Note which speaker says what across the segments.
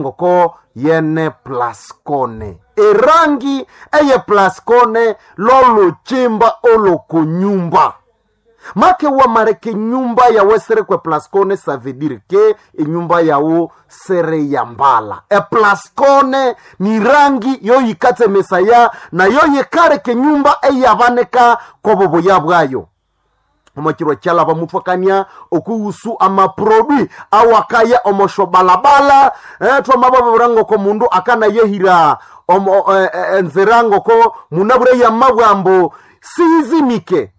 Speaker 1: Ngoko yene plascone erangi eye plascone lolukimba olokonyumba make wamareka enyumba yawe sere kwe plascone ça veut dire que enyumba yawo sere yambala. Eplascone ni rangi yoyikatsemesaya nayo yikareka enyumba eyabaneka kobobuya bwayo. Omokiro kyalaba muthwakania okuhusu amaprodui awakaya omoshobalabala. Twamababura ngoko mundu akanayehira omo, enzira ngoko munabure yamabwambo siyizimike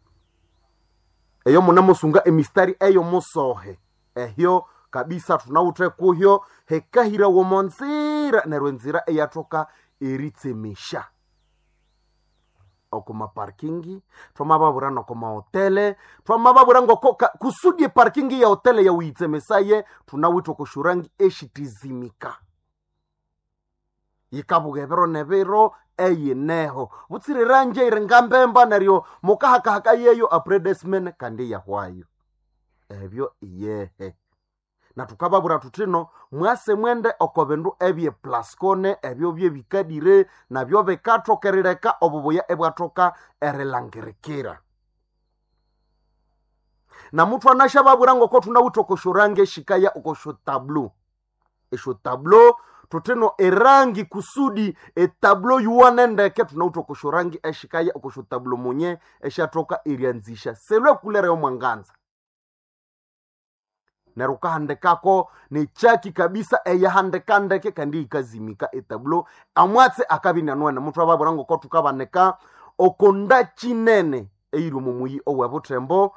Speaker 1: eyo munamusunga emistari eyo musohe ehyo kabisa tunawuthe kuhyo hekahira womonzira neryo enzira eyathoka eritsemesha okuma parkingi. Twamababura nokoma hotele, twamababura ngoko kusudi parkingi ya hotele yawuyitsemesaye tunawithe okoshurangi eshitizimika yikabuga ebiro nebiro eyineho butsire ranje iri ngambemba neryo mukahakahaka yeyo apredesmen kandi yahwayo ebyo iyehe. Na tukababura tutino mwase mwende oko bindu ebye plascone ebyo byebikadire nabyo bikathokerireka obubuya ebwathoka erilangirikira. Na muthu anashababura ngoko thunawithe okoshorangi eshikaya okoshotablo eshotablo tutino erangi kusudi etablo yuwane ndeke tunawithe okoshorangi eshikaya okoshotablo munye eshathoka eryanzisha selwe kulere yomwanganza neryo ukahandikako nechaki kabisa eyahandika ndeke kandi yikazimika etablo amwatse akabinyanuene. Muthu ababura ngoko thukabanika okonda kinene eyiri omo muyi owebuthembo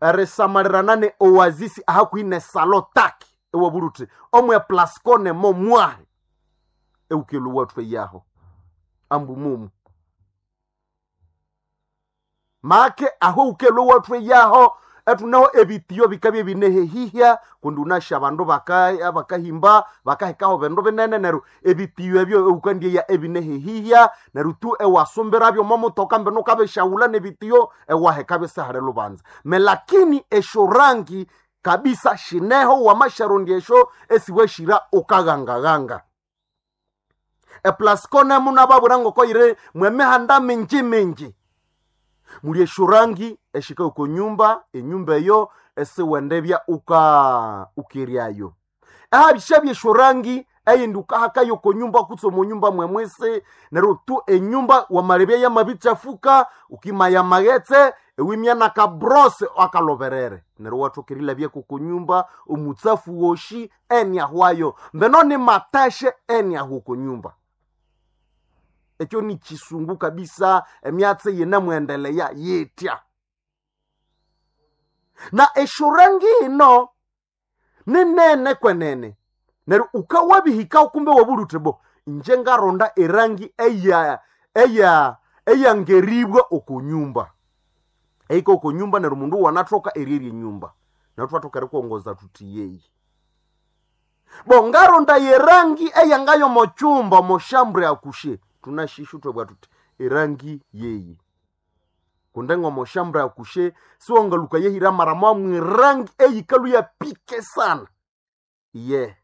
Speaker 1: erisamalirana ne oasisi ahakuhi ne salo taki ewabula uthi omwe plascone momwahe eukelu wathu eyaho ambu mumu make aho ukelu wathu eyaho etunaho ebitiyo bikabya binehehihya kundi unasha abandu bakahimba bakahekaho bindu binene neryo ebitiyo ebyo eukandieya ebinehehihya neryo tu ewasumbirabyo momutoka mbino ukabishaghula nebitiyo ewahekabyo sihali lubanza. Melakini esyorangi kabisa shineho wamasharondi esyo esiweshira ukaghangahanga. Eplascone munababwira ngoko yiri mwemihanda mingi mingi muli esyorangi eshika oko nyumba enyumba eyo esiwendebya uka ukeryayo ahabishabya esyorangi eyindi ukahakayo oko nyumba kutse omo nyumba mwemwisi neryo tu enyumba wamalebya yamabikyafuka ukimaya amaghetse ewimya nakabrose akaloberere neryo wathoka erilabya koko nyumba omutsafu woshi eniahwayo mbeno ni matashe eniahwa oko nyumba. Ekyo ni kisungu kabisa emyatsi yinemwendeleya yitya. Na esyorangi ino ninene kwenene neryo ukawabihika kumbe wabulha uthi bo inje ngaronda erangi eya eya eyangeribwa oko nyumba eyika oko nyumba neryo mundu wanathoka eryerya enyumba neryo thwathoka erikuwongoza thuthi yeyi bo ngaronda yerangi eyangayo mochumba moshambure akushe tunashishu twabwa tuthi erangi yeyi kunde ng'omoshambure akushe siwangaluka yehira mara mwamwe erangi eyikalu yapike sana ye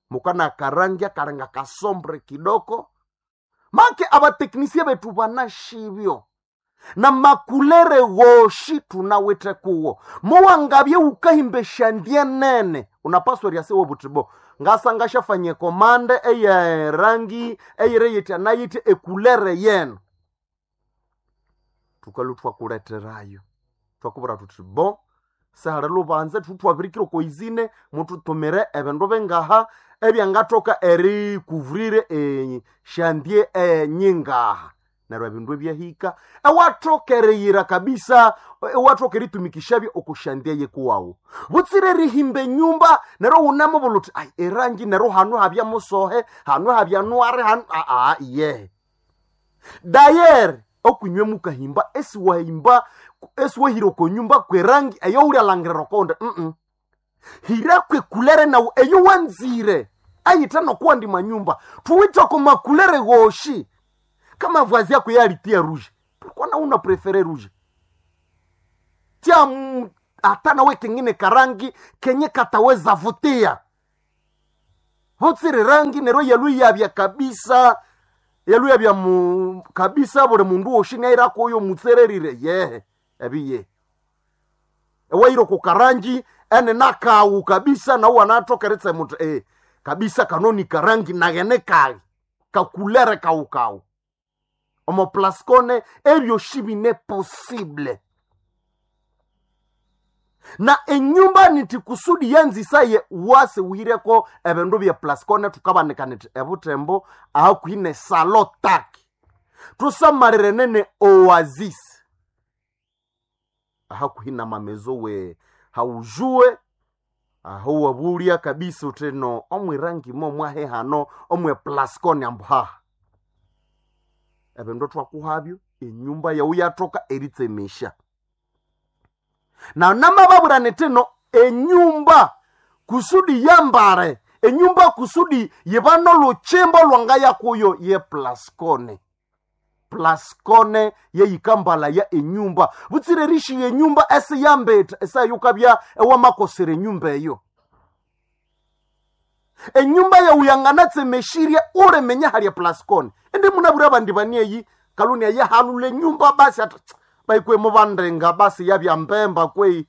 Speaker 1: mukana akarangi akarenga kasombre kidoko make abateknisia betu banashibyo na makulere woshi tunawithe kuwo muwangabye ukahimba eshandie nene unapaswa eryasiwa buthi bo ngasa ngashafanye komande eye rangi eyire yitya nayitya ekulere yenu tukalu twakuleterayo twakubwira thuthi bo sihali lubanza thutwabirikira okoizine muthutumire ebindu bingaha ebyangathoka erikuvrire eshandie enyingaha neryo ebindu ebyahika ewathoka eriyira kabisa ewathoka eritumikishabyo okushandia yekuwawu butsire erihimba enyumba neryo wunamubulha uthi ai erangi neryo hanu habya musohe hanu habya nwari hanu aa iyehe dayere okunywe mukahimba esiwahimba esiwahira okonyumba kwerangi eyowulyalangira okonde hira kwekulere nawu eyo wanzire ayitha nokuwandi manyumba thuwithe oko makulere goshi kama vazi yako yalitia rouge pourquoi na una prefere rouge tia hata nawe kengine karangi kenye kataweza vutia. Butsire rangi neryo yaluyabya kabisa, yaluyabya mu kabisa buli mundu woshi nairakoyo mutsererire yehe ebiye ewairo kukarangi ene nakawu kabisa nawu anatokeritse mutu kabisa kanoni karangi naghene kali kakulere kawukawu omo plascone ebyoshi bine possible. Na enyumba niti kusudi yanzisaye wase uhireko ebindu bya plascone tukabanika niti ebutembo ahakuhine salo taki tusamalire nene oasis ahakuhina mamezo we haujue aho wabulia kabisa uteno omwirangi mo mwahe hano omwe plascone ambuhaha ebindu twakuhabyo enyumba yawu yatoka eritsemesha. Na namababwira nitino enyumba kusudi yambare enyumba kusudi yibano luchimbo lwanga yakuyo ye plascone plascone yeyikambala ya enyumba butsire rishi yenyumba ese yambeta esayukabya ewamakosera enyumba eyo enyumba yauyangana-tsemeshiria ulemenya halya plascone indi munabwira abandi banieyi kaluni ayehalula enyumba basi ati baikwe mubandenga basi yabya mbemba kwei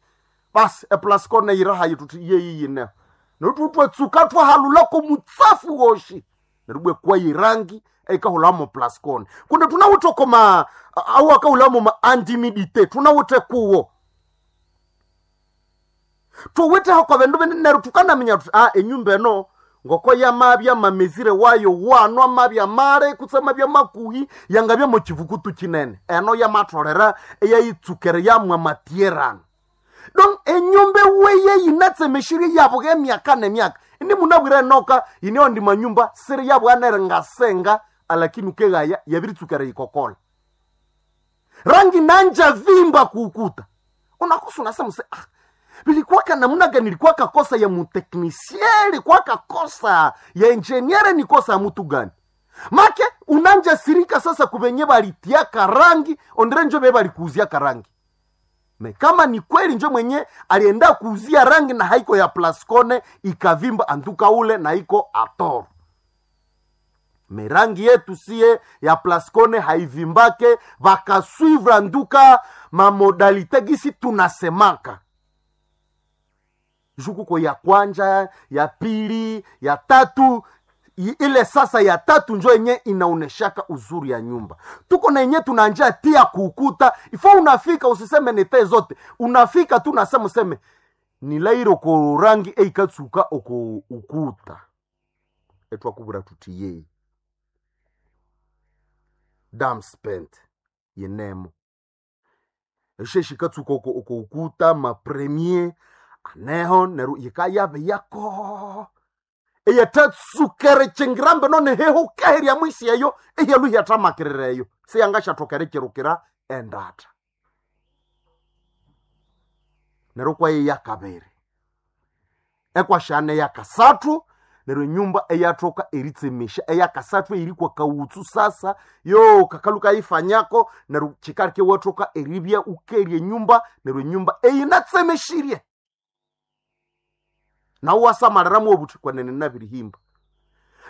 Speaker 1: basi eplascone yirahayi tuti yeyi yine notutwetsuka twahalulako mutsafu woshi nerubwe kwayi rangi eikahulamo plascone kundi tunawuthe koma awu akahulamo ma antimidite tunawuthe kuwo tuwithe kwa bindu binene neryo tukanaminya tuti a enyumba eno ngoko yamabya mamezire wayo wano amabya male kutse amabya makuhi yangabya mu kivukutu kinene eno yamatholera eyayitsukere yamwa matierano donc enyumba eweye yinatsemeshirie yabuga emyaka nemyaka indi munabwire enoka yineo ndi manyumba siri yabwanere ngasenga alakini ukegaya yabiritsukere yikokola rangi nanja vimba kuukuta unakosa unasema se ah, vilikuwaka namna gani? Ilikuwa kakosa ya muteknisie, ilikuwa kakosa ya engineer, ni kosa ya mutu gani? Make unanja sirika sasa kuvenye balitia karangi ondre njo be balikuuzia karangi me kama ni kweli njo mwenye alienda kuuzia rangi na haiko ya plascone ikavimba antuka ule na iko atoro merangi yetu sie ya plascone haivimbake vakasuivre anduka mamodalite gisi tunasemaka jukuko ya kwanja ya pili ya tatu ile sasa ya tatu njo yenye inaoneshaka uzuri ya nyumba tuko na yenye tunanja tia kukuta ifo unafika usiseme nite zote unafika tu nasema useme nilairo ko rangi eikatsuka oko ukuta etwakubura tuti yeyi dam spent yenemo esheshikatsuka oko oko ukuta mapremier aneho neru yikayabe yako eyatatsukere chengirambe none heho kaherya mwisi eyo eyaluhyathamakirireyo siyangashathokere kirukira endata neryo kwaye yakabiri ekwashana eyakasathu neryo enyumba eyathoka eritsemesha eyakasathu eyirikwa kawutsu sasa yo kakalu kayifanyako neryo kikalike wathoka eribya ukerya enyumba neryo enyumba eyinatsemeshirie nawe wasamaliramu obuthi kwenene nabirihimba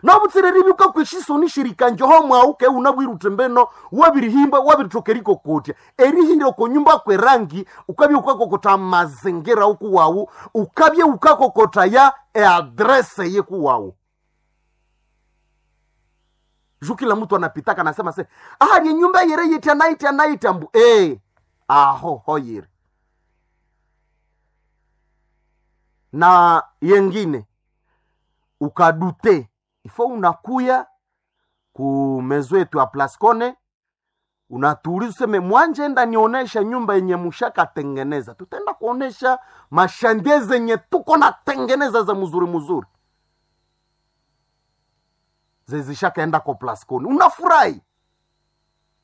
Speaker 1: nobutsire ribi ukakwishisoni shirikanjoho mwawu ke unabwire uthi mbeno wabirihimba wabirithoka erikokotya erihira okonyumba kwerangi ukabya ukakokotha mazingira ukuwawu ukabya ukakokotha ya eadrese yekuwawu ju kila mtu anapitaka nasema se ahali enyumba yere yitya naitya naitya mbu aho hoyire na yengine ukadute ifo unakuya ku mezo yetu ya Plascone unatuuliza useme mwanje enda nionesha nyumba yenye mushakatengeneza. Tutaenda kuonesha mashandie zenye tuko natengeneza za mzuri mzuri zezishakaenda kwa Plascone, unafurahi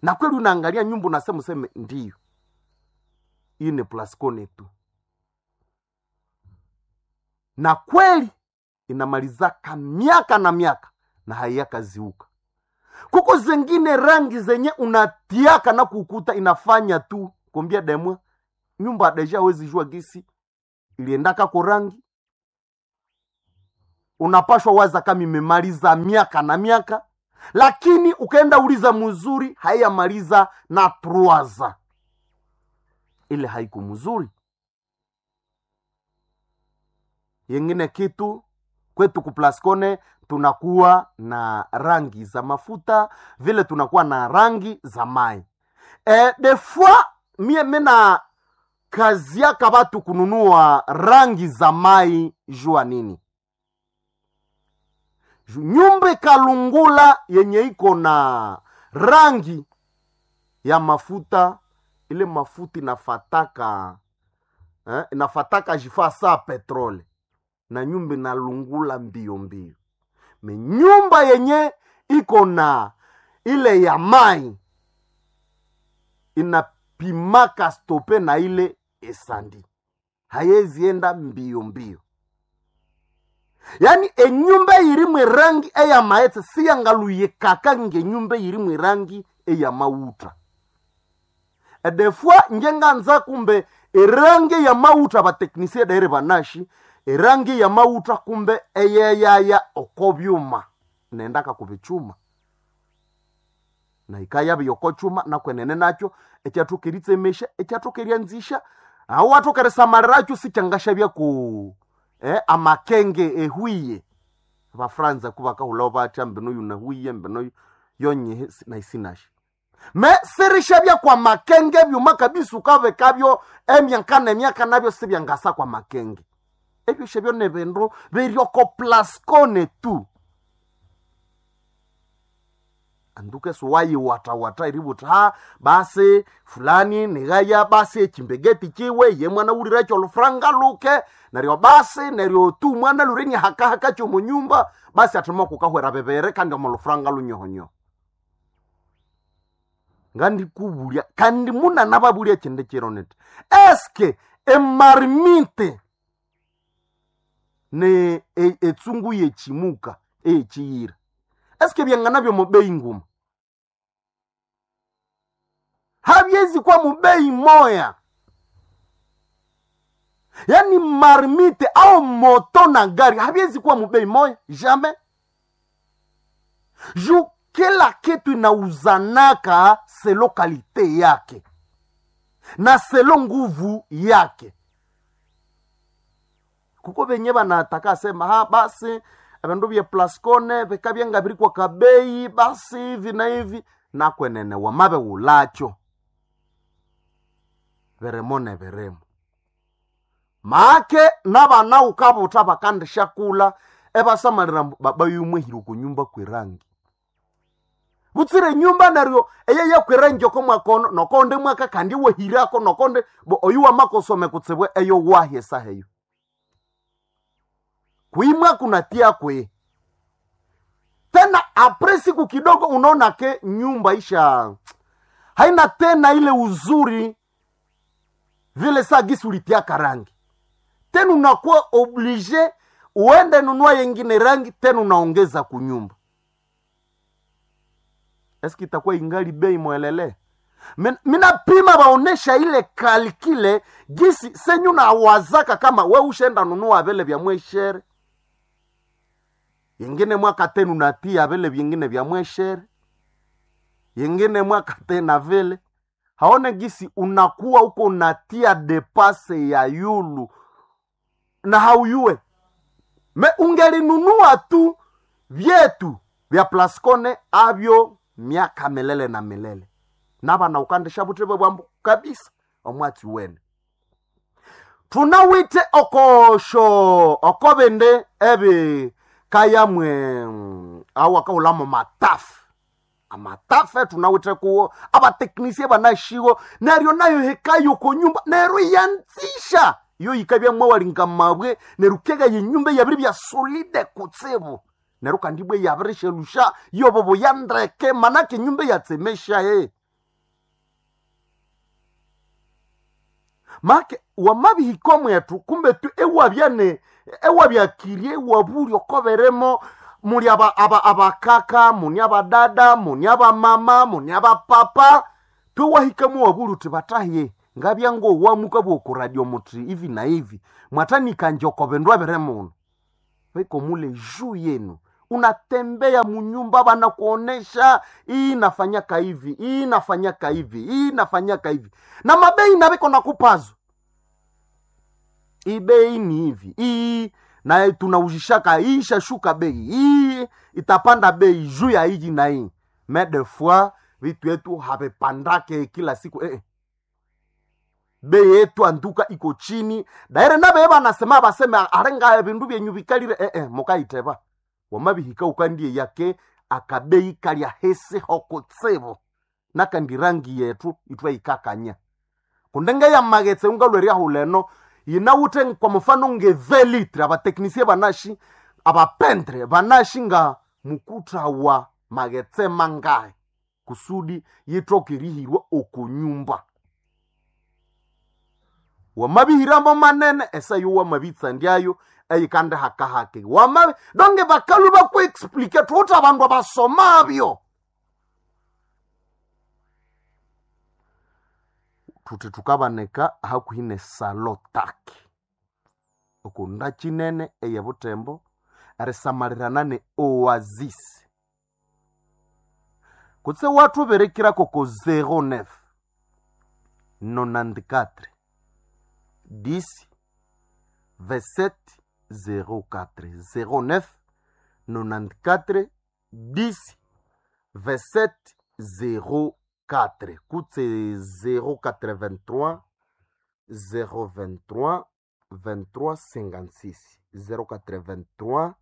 Speaker 1: na kweli, unaangalia nyumba unasema useme ndiyo hii ni Plascone tu, na kweli inamalizaka miaka na miaka na haiyakaziuka. Kuko zengine rangi zenye unatiaka na kukuta inafanya tu kombia demwa nyumba deja hawezi jua gisi iliendaka ko rangi. Unapashwa waza kama imemaliza miaka na miaka, lakini ukaenda uliza mzuri haiyamaliza na truaza ile haiku mzuri. Yengine kitu kwetu kuplascone tunakuwa na rangi za mafuta vile tunakuwa na rangi za mai. Des fois mie mena kaziaka batu kununua rangi za mai jua nini? Nyumba kalungula yenye iko na rangi ya mafuta, ile mafuta inafataka inafataka jifaa saa petrole na nyumba inalungula mbio mbio. Me nyumba yenye iko na ile ya mai inapimaka stope na ile esandi hayezienda mbio mbio. Yaani enyumba irimwe rangi eya maetse siyangaluyekaka ngenyumba irimwe rangi eya mauta. Edefua ngenganza kumbe erangi ya mauta bateknisie daire banashi erangi ya mauta kumbe eyeyaya oko byuma nendaka kubichuma na ikaya biyoko chuma nakwenene nakyo ekyathokeritsemesha ekyathokeryanzisha aho wathokeresamaliracho sikyangashabya ku amakenge ehwiye abafranza kubakahulao batya mbino yunahuiye mbino yonyehe naisinasha me sirishabya kwa makenge byuma kabisa ukabekabyo emyaka nemyaka nabyo sibyangasa kwa makenge ebyo shabyo nebindu biryoko plascone tu anduke suwayiwatawata iributa ha basi fulani nigaya basi echimbegeti chiwe ye mwana ulirecho olufranga luke neryo basi neryo tu mwana lureni hakahaka chomunyumba basi athima kukahwera bebere kandi omo lufranga lunyohonyoho ngandikubulya kandi muna nababulya chindi chiro niti eske emarmite ne etsungu yechimuka eyechiyira eske byangana byo mubei nguma habyezi kwa mubei moya yaani marmite au moto na gari habyezi kuwa mubei moya jamais ju kila kitu inauzanaka selo kalite yake na selo nguvu yake kuko benye banataka sema ha basi ebindu bye plascone bikabya biri kwa kabei basi hivi na hivi nakwenene wamabe wulacho birimo ne birimo make nabana ukabuta bakandishakula ebasamalira baba yumwehire kunyumba kwerangi butsire nyumba neryo eye yakwerangi oko mwakono nokonde mwaka kandi wehirako nokonde bo oyu wamakosome kutsibwe eyo wahi esaha eyo kuimwa kunatia kwe tena apre siku kidogo unaona ke nyumba isha haina tena ile uzuri vile saa gisi ulitiaka rangi tena unakuwa oblige uende nunua yengine rangi tena unaongeza kunyumba eski itakuwa ingali bei mwelele minapima baonesha ile kalkile gisi senyu nawazaka kama we ushenda nunua vile vya mweshere yengine mwaka tena unatia vile vyengine vya mweshere yengine mwaka tena vile haone gisi unakuwa huko unatia depase ya yulu na hauyue me ungelinunua tu vyetu vya plascone avyo miaka milele na milele nabana ukandisha butebe bwambu kabisa omwatsi wene tunawite okosho okobende ebi kayamwe awu akahulamo matafu amatafe tunawite kuwo abateknisie banashiwo neryo nayo hekayo konyumba neryo yanzisha iyo yikabya mwawalinga mabwe neryo kega yenyumba yabiri bya solide kutsibu neryo kandi bwe yabirishelusha yobobo yandeke manake nyumba yatsemesha he make wamabihiko mwetu kumbe tu ewabyane ewabyakirie ewabuli okoberemo muli abakaka muni abadada muni abamama muni abapapa twewahikamo wabuli uti bataye ngabya ngowamuka bwokuradio muti hivi na hivi mwatanika njoko bindu abire muno. Beko mule juu yenu. Unatembea munyumba, banakuonesha hii nafanyaka hivi, hii nafanyaka hivi, hii nafanyaka hivi, na mabei na beko nakupazo hii bei ni hivi, hii na tunaujishaka hii ishashuka bei, hii itapanda bei juu ya hii na hii. Mais des fois vitu yetu havipandake kila siku eh. Bei yetu anduka iko chini daire nabe banasema baseme arenga bindu byenyu bikalire eh, mukaiteba wamabihika ukandie yake akabei kalya hese hokotsebo nakandi rangi yetu itwa ikakanya kundenge ya magetse ungalweria huleno yinawuthe kwa mfano nge 20 litre abateknisie banashi abapentre banashi nga mukuta wa magetse mangahe kusudi yitoke rihirwa okunyumba wamabihiramo manene esayo wamabitsandyayo eyikande hakahake wamabi donge bakalu bakuexplike thuthi abandu abasomabyo thuthi thukabaneka hakuhi ne salotaki okunda kinene eyebutembo erisamalirana ne oasis kutse wathuberekirako ko 09 94 10 27 04 09 94 10 27 04 kutse 083 023 23 56 083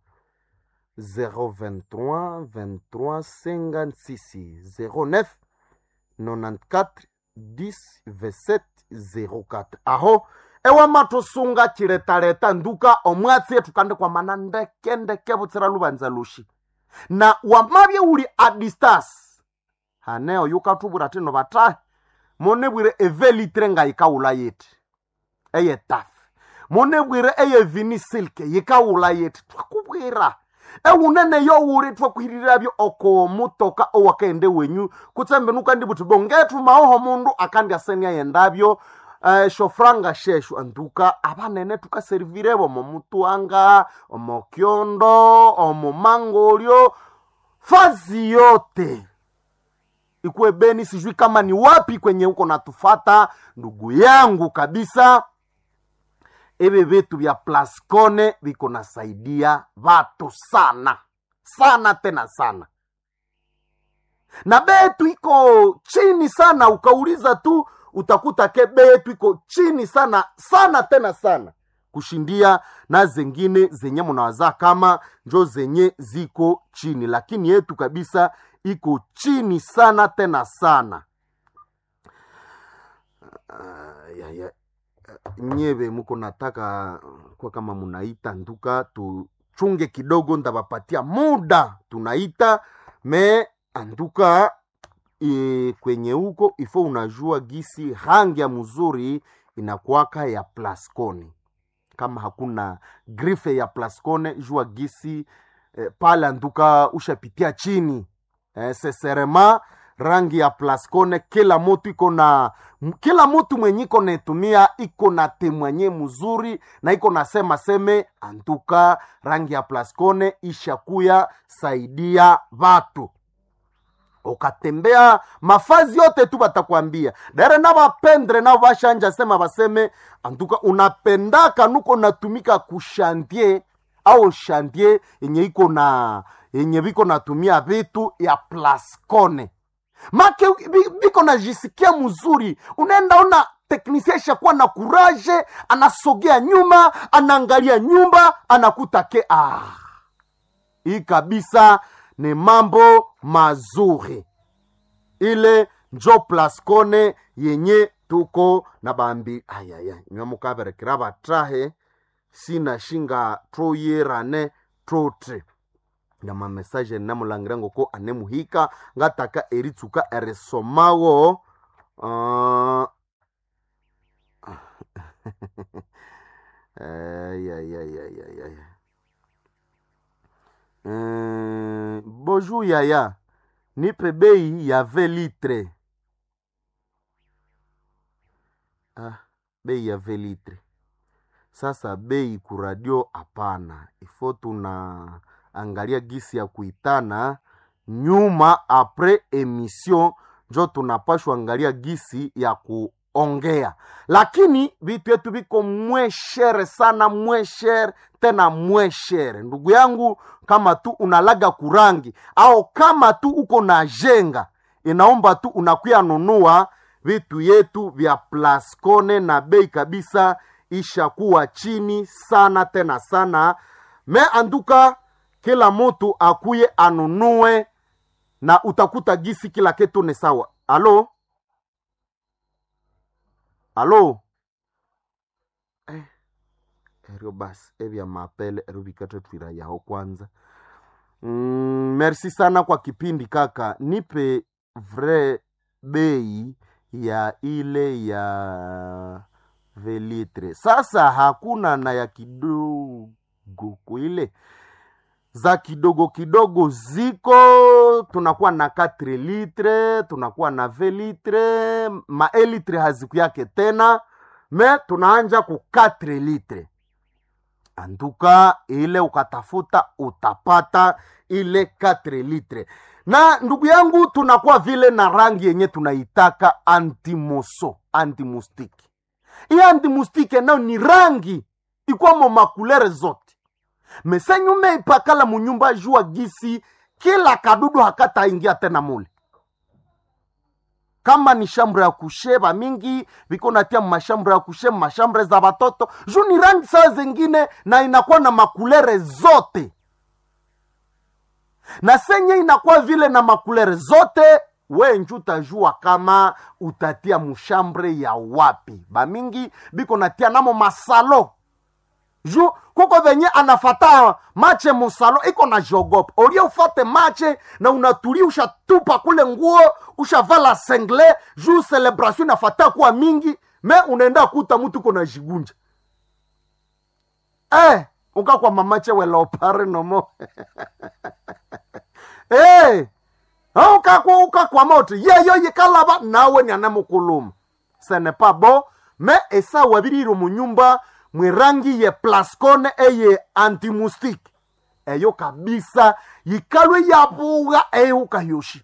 Speaker 1: 023 23 56 09 94 10 27 04 aho ewamatusunga chiletaleta nduka omwatsi etukande kwamana ndeke ndeke butsira lubanza lushi na wamabye uli a distance hane oyu katubwira tino batahe munibwire evelitre nga yikawula yiti eyetafe munibwire eyevini silke yikawula yiti twakubwira ewunene yowuli twakuhiriravyo oko mutoka owakaende wenyu kutsembe nukandi buthi bongethu maoho mundu akandi asenia yendavyo shofranga sheshu anduka abanene tukaserivirevo omo mutuanga omo kyondo omo mangolyo fazi yote ikuwe Beni, sijui kama ni wapi kwenye huko natufata ndugu yangu kabisa. Ebi vitu vya Plascone viko nasaidia watu sana sana tena sana, na bei yetu iko chini sana. Ukauliza tu utakuta ke bei yetu iko chini sana sana tena sana kushindia na zengine zenye munawaza kama njo zenye ziko chini, lakini yetu kabisa iko chini sana tena sana. Ya, ya. Nyeve muko nataka kwa kama munaita nduka, tuchunge kidogo, ndabapatia muda tunaita me anduka e, kwenye huko ifo unajua gisi rangi ya mzuri inakuwaka ya Plascone. Kama hakuna grife ya Plascone jua gisi pale anduka ushapitia chini seserema rangi ya Plascone. Kila mutu iko na kila mutu mwenye iko netumia iko na temwanye mzuri na iko nasema seme antuka rangi ya Plascone ishakuya saidia watu ukatembea mafazi yote tu batakwambia dere na bapendre na bashanja sema baseme antuka unapendaka nuko natumika kushantie au shantie yenye iko na yenye biko natumia vitu ya Plascone make biko najisikia mzuri. Unaenda ona teknisia ishakuwa na kuraje, anasogea nyuma, anaangalia nyumba, anakuta ke ah, hii kabisa ni mambo mazuri. Ile njo Plascone yenye tuko na bambi ayaya nyamukaberekera batahe sina shinga troyerane trotre na mamesaje namulangira ngoko anemuhika ngataka eritsuka erisomawo ay. Bonjour yaya, nipe bei ya 20 litre. Ah, bei ya 20 litre. Sasa bei kuradio hapana, ifo tuna angalia gisi ya kuitana nyuma apres emission, njo tunapashwa angalia gisi ya kuongea, lakini vitu yetu viko mweshere sana, mweshere tena mweshere. Ndugu yangu, kama tu unalaga kurangi au kama tu uko na jenga, inaomba tu unakuya nunua vitu yetu vya Plascone na bei kabisa ishakuwa chini sana tena sana. Me anduka kila mutu akuye anunue na utakuta gisi kila kitu ni sawa. Alo, alo, eh, erio basi evya mapele erio vikatwetwira yaho kwanza. Merci sana kwa kipindi kaka, nipe vrai bei ya ile ya velitre. Sasa hakuna na ya kidogo kuile za kidogo kidogo ziko, tunakuwa na 4 litre, tunakuwa na 20 litre, maelitre haziku yake tena, me tunaanja ku 4 litre. Anduka ile ukatafuta utapata ile 4 litre. Na ndugu yangu, tunakuwa vile na rangi yenye tunaitaka antimoso, antimustiki. Hii antimustiki nayo ni rangi ikwamo makulere zote mesenyume ipakala munyumba jua gisi kila kadudu hakataingia tena mule. Kama ni shambre ya kushe bamingi biko natia mashambre ya kushe mashambre za batoto juu ni rangi saa zingine, na inakuwa na makulere zote na senye inakuwa vile na makulere zote, we nju utajua kama utatia mushambre ya wapi. Bamingi biko natia namo masalo ju kuko venye anafata mache musalo iko na jogopa olie ufate mache na unatulia, ushatupa kule nguo ushavala sengle ju celebration inafata kuwa mingi, me unaenda kuta mtu iko na jigunja eh, ukakwa mamache welopare nomo eh, ukakwa ukakwa moto yeyo yikalaba nawe ni anamukuluma ce n'est pas bon me esa wabiriro munyumba mwirangi ye Plascone eye antimustike eyo kabisa yikalwe yabuga eyuka yoshi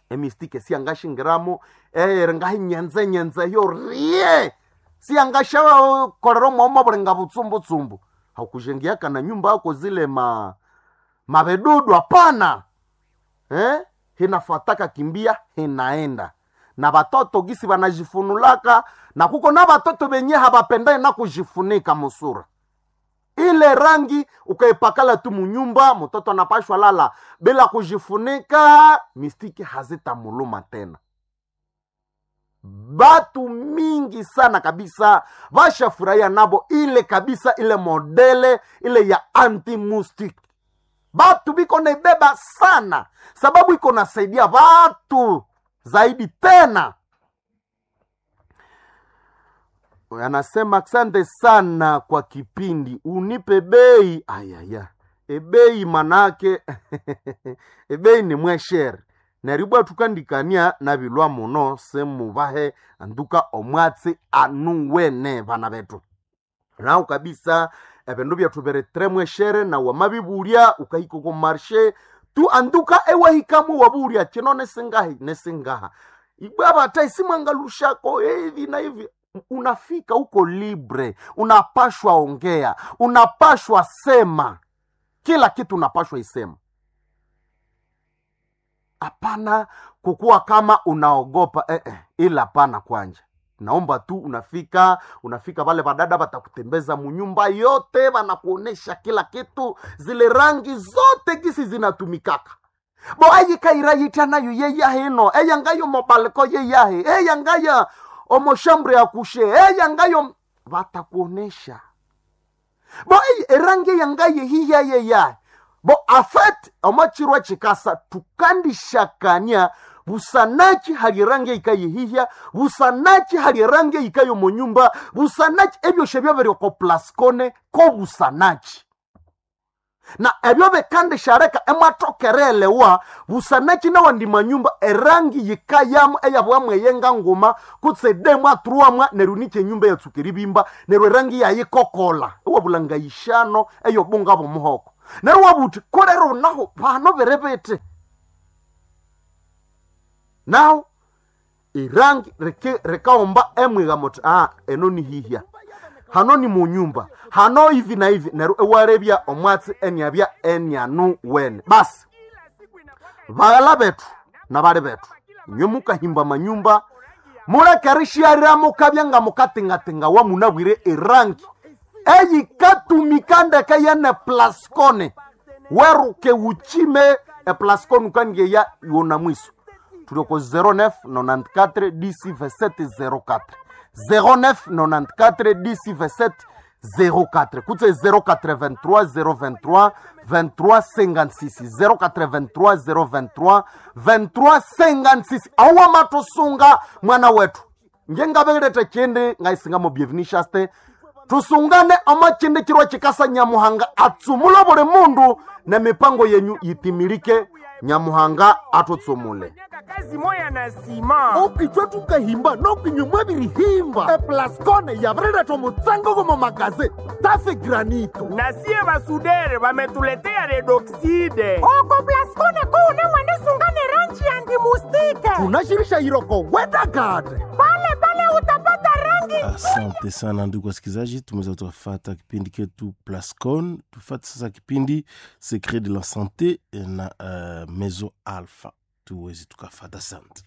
Speaker 1: emistike siangashingiramo eyere ngahinyenze nyenze yo rie siangashakolera mwomo bulinga butsumbutshumbu hakujengiaka na nyumba yako zile ma mabedudu hapana eh? Hinafataka kimbia hinaenda na batoto gisi banajifunulaka na kuko na batoto benye habapendai na kujifunika musura ile rangi ukaipakala tu munyumba, mtoto anapashwa lala bila kujifunika, mistiki hazitamuluma tena. Batu mingi sana kabisa bashafurahia nabo ile kabisa, ile modele ile ya anti-mustiki batu biko naibeba sana, sababu iko nasaidia batu zaidi tena. Anasema asante sana kwa kipindi, unipe bei. Ayaya, ebei manake ebei ni mweshere neribwa tukandikania nabilwa muno semubahe anduka omwatsi anuwene bana betu nawu kabisa ebindu byethu biri tre mweshere na wamabibulya ukahika ko marshe tu anduka ewahikamu wabulya chino nesingahi nesingaha ibwa bata isimwangalushako hivi na hivi unafika huko libre unapashwa ongea unapashwa sema kila kitu unapashwa isema hapana kukuwa kama unaogopa eh, eh, ila hapana kwanja naomba tu unafika unafika vale vadada vatakutembeza munyumba yote vanakuonesha kila kitu zile rangi zote gisi zinatumikaka bo ayikairayitya nayo yeyahino eyangayo mobaliko yeyahe eyangaya omoshambre ya kushe eyangayo vatakuonesha bo eyi erangi yangaye hiya yeyahe bo afet omachirwa chikasa tukandishakania busanachi hali rangi ikayihihya busanachi hali rangi ikayo munyumba busanachi ebyoshe byabiri ko Plascone ko busanachi. Na ebyo bikandishaleka emwathokerelewa busanaki nawandi manyumba erangi yikayamu eyabwamu eyenga nguma kutse demwa truamwa neryo nikyo enyumba eyatsuka eribimba neryo erangi yayikokola ewabulanga yishano eyobunga bw'omuhoko neryo wabuthi kolero naho bano biri biti naho irangi rikaomba emwiga muthi eno ni hihya hano ni munyumba hano hivi na hivi neryo ewarebya omwatsi eniabya enianu wene. Basi baghala bethu nabali bethu inywe mukahimba manyumba muleke rishyarira mukabya nga mukatingatinga wamunabwire erangi eyikatumika ndeke yene plascone weruke wuchime eplascone ukangeya yona mwiso. Tulioko 09 94 10 27 04 09 94 10 27 04 kutse 083 023 23 56 083 023 23 56 awa matusunga mwana wetu ngengabeletha chindi ngaisingamo bienvenishaste tusungane ama chindi chirwa chikasa Nyamuhanga atsumule buli mundu na mipango yenyu yitimilike. Nyamuhanga atutsumule
Speaker 2: kazi moya na sima
Speaker 1: okichwe tukahimba nokinyumwa birihimba eplascone yabireletha omutsango gomo magaze tafe granito
Speaker 2: na sie basudere bametuletea redoxide
Speaker 3: Oko Plascone kuune mwanisungane rangi ya ndimustike
Speaker 1: tunashirisha iroko wedagade
Speaker 3: pale pale utapata rangi.
Speaker 4: Asante sana ndugu wasikilizaji, tumeweza tuwafata kipindi ketu Plascon. Tufate sasa kipindi Secret de la Sante na Mezo Alpha, tuweze tukafata. Asante.